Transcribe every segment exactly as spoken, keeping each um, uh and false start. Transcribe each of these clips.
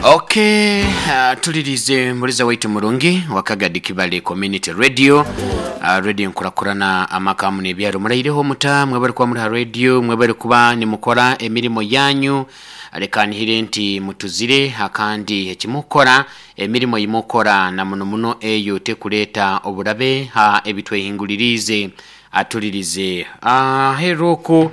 Okay, uh, tulirize muliza waitu murungi wakagadi Kibale Community Radio, uh, radio nkurakurana amakamu n'ebyaro. Muraireho muta mwebale kuba muri ha radio, mwebale kuba nimukora emirimo yanyu. Reka nihire nti mutuzire akandi ekimukora emirimo yimukora na muno muno eyo tekuleta oburabe ha ebitwehingulirize. Atulirize aheruku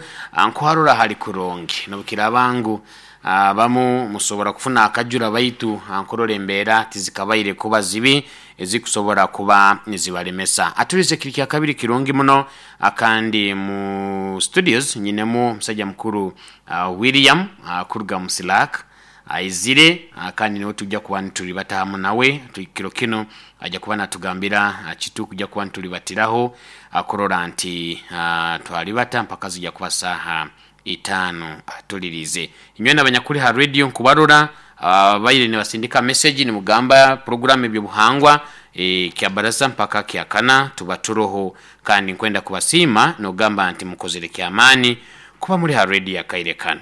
nkuharura hali kurungi nobukira bangu abamu musobora kufuna akajura baitu ankorora embeera tizikabaire kuba zibi ezikusobora kuba nizibalemesa. Atulize kiri kya kabiri kirungi muno. Akandi mu studios nyinemu musajja mukuru uh, William uh, kuruga musilak aizire, kandi niwe tujja kuba nitulibatamu nawe kiro kino. Ajja kuba natugambira kitu kujja kuba nitulibatiraho akurora nti uh, twalibata mpaka zijja kuba saha itano. Atulirize inywe n'abanyakuri ha radio nkubarora abaire uh, nibasindika message nimugamba program ebyo buhangwa e, kya baraza mpaka kya kana tuba turoho, kandi nkwenda kubasima nogamba nti mukozere kyamani kuba muri ha radio ya Kairekana.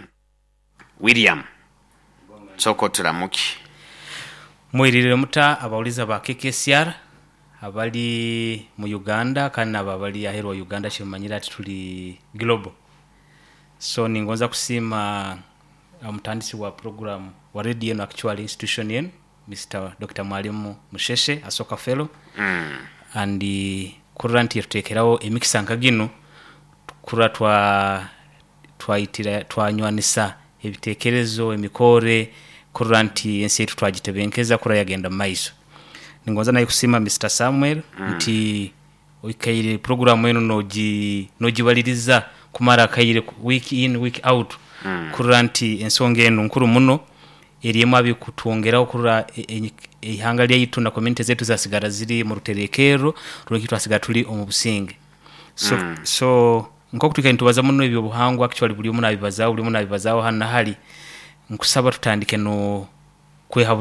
William soko turamuki. Mwirire muta abauliza ba K K C R abali mu Uganda kandi abali aheru wa Uganda shimanyira ati tuli global. So ningonza kusima mutandisi wa program wa radio yenu, actually institution yenu, Mister Doctor Mwalimu Musheshe Asoka Fellow. mm. And kurra nti tutekerawo emikisa nka gino kurra twa twaitira twanywanisa ebitekerezo emikore kurra nti ensi yetu twagitebenkeza kurra yagenda maiso. Ningonza naye kusima Mister Samuel mm. nti oikaire program yenu noji nojibaliriza kumara kaire week in week out mm. kurra nti ensonga eno nkuru muno erimu abikutwongeraho kurra ihanga lyaitu na community zetu zasigara ziri mu ruterekero rweki twasigara tuli omu businge. So mm. so nko kutuka ntubaza muno ebyo buhangwa actually buli omu nabibazaho buli omu nabibazaho hano hali nkusaba tutandike no kwehabuza.